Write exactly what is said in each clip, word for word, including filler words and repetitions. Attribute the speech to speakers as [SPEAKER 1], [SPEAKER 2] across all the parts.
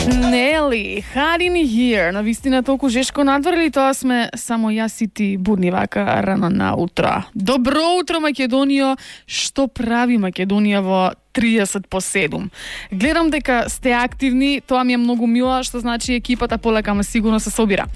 [SPEAKER 1] Нели, Hiding Here, на вистина толку жешко надвор или тоа сме само јас и ти будни вака рано на утро? Добро утро, Македонија! Што прави Македонија во триесет по седум? Гледам дека сте активни, тоа ми е многу мило, што значи екипата полека, ама сигурно се собира.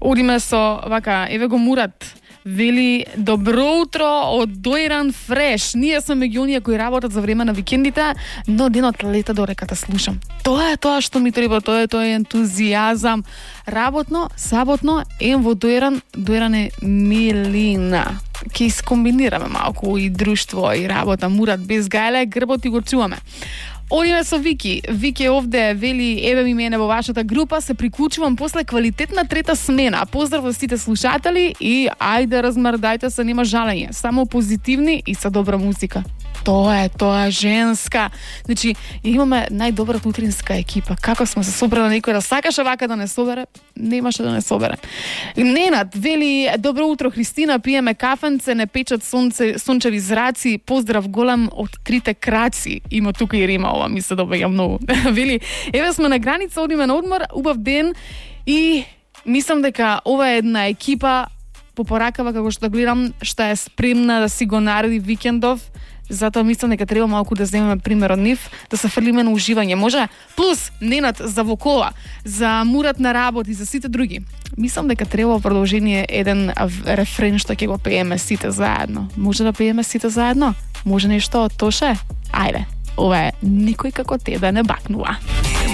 [SPEAKER 1] Одиме со, вака, еве го Мурат. Вели, добро утро од Дојран Фреш. Ние сме меѓу оние кои работат за време на викендите, но денот лета до реката слушам. Тоа е тоа што ми треба, тоа е тоа е ентузијазам. Работно, саботно, ем во Дојран, Дојран е милина. Ке искомбинираме малку и друштво и работа. Мурат без гајле, грбот и го чуваме. Одиме со Вики. Вики овде вели, еве ми мене во вашата група, се приклучувам после квалитетна трета смена. Поздрав за сите слушатели и ајде размрдајте се, нема жалење. Само позитивни и со добра музика. Тоа е, тоа е женска. Значи, имаме најдобрата утринска екипа. Како сме се собрали, некој да сакаше вака да не собере, немаше да не собере. Ненад вели, добро утро Христина, пиеме кафенце, не печат сонце, сончеви зраци, поздрав голем од трите краци. Има тука и рима, ова ми се добаѓа многу. Вели, еве сме на граница, одиме на одмор, убав ден и мислам дека ова е една екипа по поракава, како што гледам, што е спремна да си го нареди викендов. Затоа мислам дека треба малку да земеме пример од нив, да се фрлиме на уживање. Може? Плюс, Ненад за вокола, за Мурат на работа и за сите други. Мислам дека треба продолжение еден рефрен што ќе го пееме сите заедно. Може да пееме сите заедно? Може нешто од Тоше? Ајде, ова е Никој како тебе не бакнува.